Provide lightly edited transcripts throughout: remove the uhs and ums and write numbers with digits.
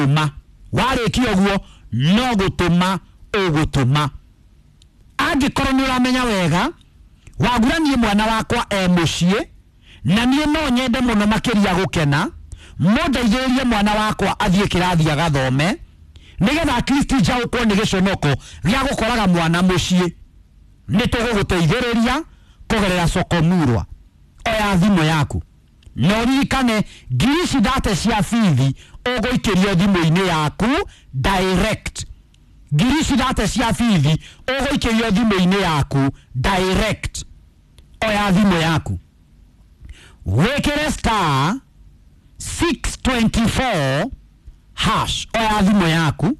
Gũtũma. Warĩkia ũguo, no gũtũma ũgũtũma. Angĩkorwo nĩ ũramenya wega wagura, niĩ mwana wakwa e mũciĩ na niĩ no nyende mũno makĩria gũkena, mũndeithĩrĩrie mwana wakwa athiĩ kĩrathi agathome, nĩgetha at least njaũkwo nĩ gĩconoko gĩa gũkoraga mwana mũciĩ, nĩ tũgũgũteithĩrĩria kũgerera Soko Murwa. Oya thimũ yaku na ũririkane 30,000 cia bithi ũgũikĩrio thimũ-inĩ yaku direct. 30,000 cia bithi ũgũikĩrio thimũ-inĩ yaku direct. Oya thimũ yaku, wĩkĩre *624#. Oya thimũ yaku,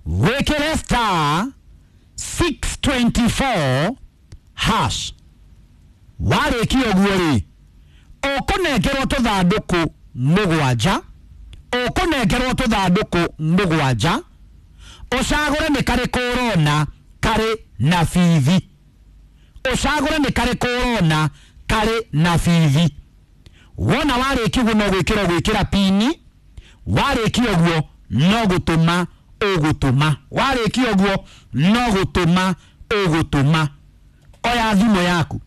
wĩkĩre *624#. Warĩkia ũguo rĩ, ũkũnengerwo tũthandũkũ mũgwanja. Ũkũnengerwo tũthandũkũ mũgwanja, ũcagũre nĩ karĩkũ ũrona karĩ na bithi. Ũcagũre nĩ karĩkũ ũrona karĩ na bithi. Wona warĩkia ũguo, no gwĩkĩra gwĩkĩra PIN. Warĩkia ũguo, no gũtũma ũgũtũma. Warĩkia ũguo, no gũtũma ũgũtũma. Oya thimũ yaku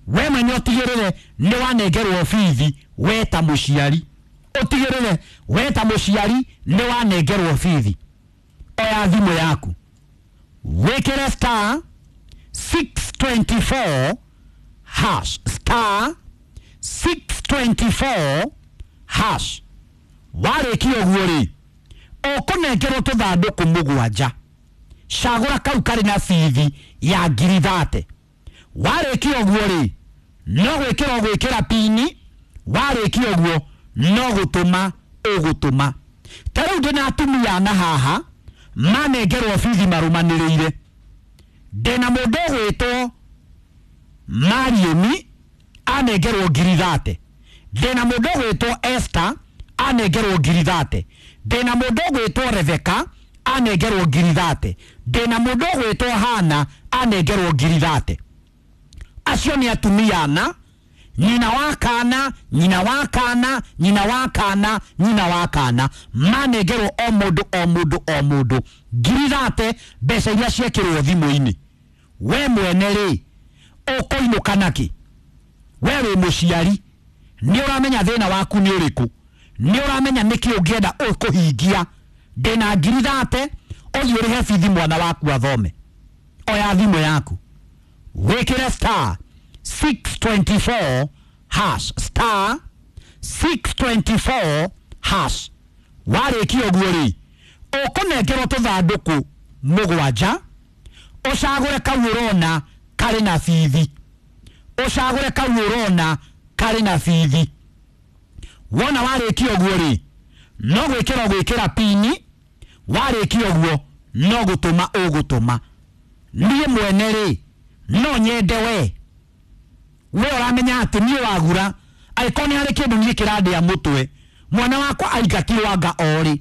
we mwene, ũtigĩrĩre nĩ wanengerwo bithi. We ta mũciari, ũtigĩrĩre we ta mũciari nĩ wanengerwo bithi. Oya thimũ yaku, wĩkĩre *624#, *624#. Warĩkia ũguo rĩ, ũkũnengerwo tũthandũkũ mũgwanja, cagũra kau karĩ na bithi ya 30,000. Warĩkia ũguo rĩ, no gwĩkĩra ũgwĩkĩra PIN. Warĩkia ũguo, no gũtũma ũgũtũma. Ta rĩu ndĩna atumia ana haha manengerwo bithi marũmanĩrĩire. Ndĩna mũndũ ũgwĩtwo Mariemi, anengerwo 30,000. Ndĩna mũndũ ũgwĩtwo Esther, anengerwo 30,000. Ndĩna mũndũ ũgwĩtwo Rebecca, anengerwo 30,000. Ndĩna mũndũ ũgwĩtwo Hana, anengerwo 30,000. Acio nĩ atumia ana, nyina wa kana, nyina wa kana, nyina wa kana, nyina wa kana, manengerwo o mũndũ o mũndũ o mũndũ 30,000, mbeca iria ciekĩrwo thimũ-inĩ. We mwene rĩ, ũkũinũka nakĩ? We wĩ mũciari, nĩ ũramenya thĩna waku nĩ ũrĩkũ, nĩ ũramenya nĩkĩ ũngĩenda ũkũhingia. Ndĩna 30,000, ũthiĩ ũrĩhe bithi mwana waku athome. Oya thimũ yaku, wĩkĩre *624#, *624#. Warĩkia ũguo rĩ, ũkũnengerwo tũthandũkũ mũgwanja, ũcagũre kau ũrona karĩ na bithi. Ũcagũre kau ũrona karĩ na bithi. Wona warĩkia ũguo rĩ, no gwĩkĩra gwĩkĩra PIN. Warĩkia ũguo, no gũtũma ũgũtũma. Niĩ mwene rĩ, no nyende we ũramenya atĩ niĩ wagura, angĩkorwo nĩ harĩ kĩndũ niĩ kĩrandĩa mũtwe, mwana wakwa aingatirwo anga orĩ,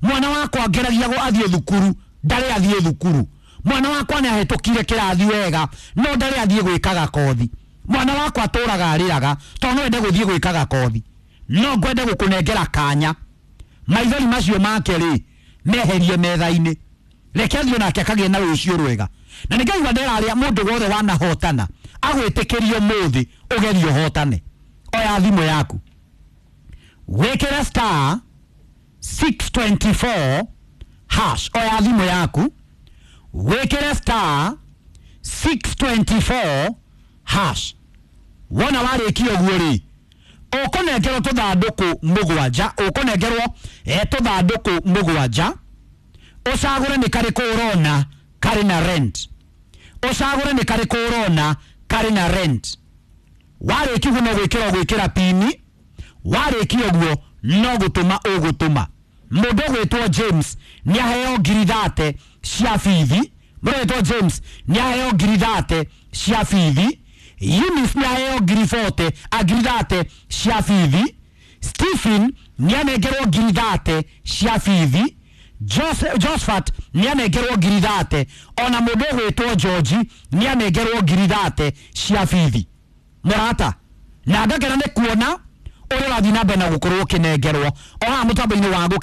mwana wakwa ngeragia athiĩ thukuru, ndarĩ athiĩ thukuru, mwana wakwa nĩ ahĩtũkire kĩrathi wega no ndarĩ athiĩ gwĩkaga kothi, mwana wakwa atũraga arĩraga tondũ no ende gũthiĩ gwĩkaga kothi, no ngwende gũkũnengera kanya maithori macio make rĩ meherie metha-inĩ, reke athiĩ nake akagĩe na rũciũ rwega. Na nĩ ngaigua nderarĩa mũndũ wothe wanahotana agwĩtĩkĩrio mũthĩ ũgerie ũhotane. Oya thimũ yaku, wĩkĩre *624#. Oya thimũ yaku, wĩkĩre *624#. Wona warĩkia ũguo rĩ, ũkũnengerwo tũthandũkũ mũgwanja. Ũkũnengerwo tũthandũkũ mũgwanja, ũcagũre nĩ karĩkũ ũrona karĩ na rent. Ũcagũre nĩ karĩkũ ũrona karĩ na rent. Warĩkia ũguo, no gwĩkĩra gwĩkĩra PIN. Warĩkia ũguo, no gũtũma ũgũtũma. Mũndũ ũgwĩtwo James nĩ aheo 30,000 cia bithi. Mũndũ ũgwĩtwo James nĩ aheo 30,000 cia bithi. Eunice nĩ aheo 40,000 a 30,000 cia bithi. Stephen nĩ anengerwo 30,000 cia bithi. Josephat nĩ anengerwo 30,000. Ona mũndũ ũgwĩtwo George nĩ anengerwo 30,000 cia bithi. Mũrata, na ngakena nĩ kuona ũrĩa ũrathiĩ na mbere na gũkorwo ũkĩnengerwo o haha mũtambo-inĩ wa